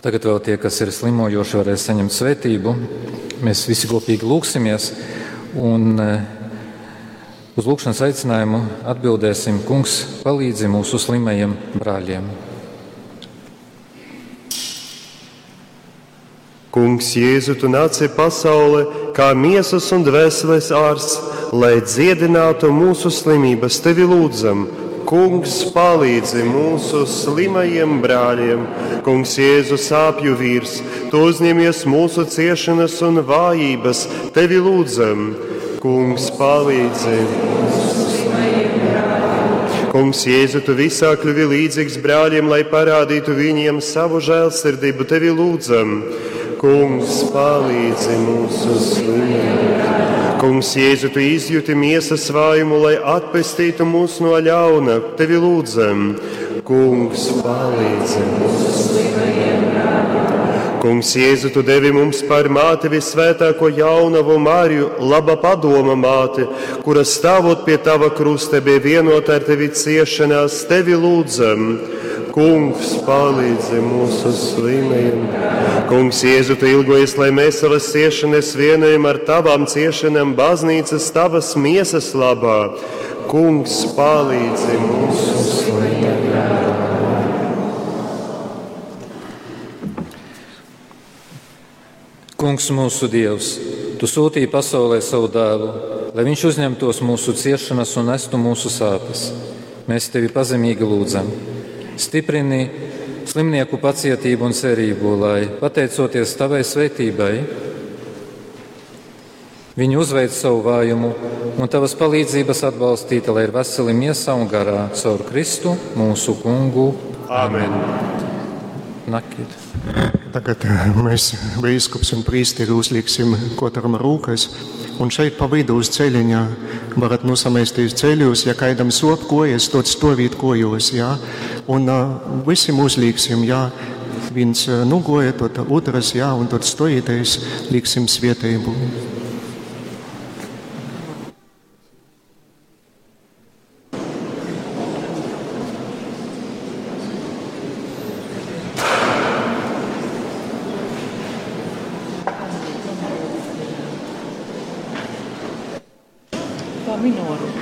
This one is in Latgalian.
Tagad vēl tie, kas ir slimojoši, varēs saņemt svētību. Mēs visi kopīgi lūgsimies un uz lūgšanas aicinājumu atbildēsim: Kungs, palīdzi mūsu slimajiem brāļiem. Kungs, Jēzu, tu nāci pasaulē kā miesas un dvēseles ārsts, lai dziedinātu mūsu slimības. Tevi lūdzam, Kungs, palīdzi mūsu slimajiem brāļiem. Kungs, Jēzu, sāpju vīrs, tu uzņemies mūsu ciešanas un vājības. Tevi lūdzam, Kungs, palīdzi. Kungs, Jēzu, tu visā kļuvi līdzīgs brāļiem, lai parādītu viņiem savu žēlsirdību. Tevi lūdzam, Kungs, palīdzi mūsu slimiem. Kungs, Jēzu, tu izjūti miesas vājumu, lai atpestītu mūs no ļauna. Tevi lūdzam, Kungs, palīdzi mūsu slimajiem. Kungs, Jēzu, tu devi mums par māti visvētāko jaunavu Mariju, laba padoma māti, kura stāvot pie tava krusta bija vienota ar tevi ciešanās, tevi lūdzam. Kungs, palīdzi mūsu slimajiem. Kungs, Jēzu, tu ilgojies, lai mēs savas ciešanas vienojam ar tavām ciešanām baznīcas tavas miesas labā. Kungs, palīdzi mūsu slimajiem. Kungs, mūsu Dievs, tu sūtīji pasaulē savu dēlu, lai viņš uzņemtos mūsu ciešanas un nestu mūsu sāpes. Mēs tevi pazemīgi lūdzam. Stiprini slimnieku pacietību un cerību, lai, pateicoties tavai svētībai, viņi uzveic savu vājumu un tavas palīdzības atbalstīta, lai ir veseli miesā un garā caur Kristu, mūsu kungu. Āmen. Nakit. Tagad mēs, bīskaps un priesteri, uzliksim katram rūkas. Un šeit pa vidu uz ceļiņa varat nosamēsties ceļos, ja kādam sop kojas, tad stovīt kojos, jā. Un visiem uzliksim, jā, viens nugoja, tad otrs, jā, un tad stojieties, liksim svētību. Minoru.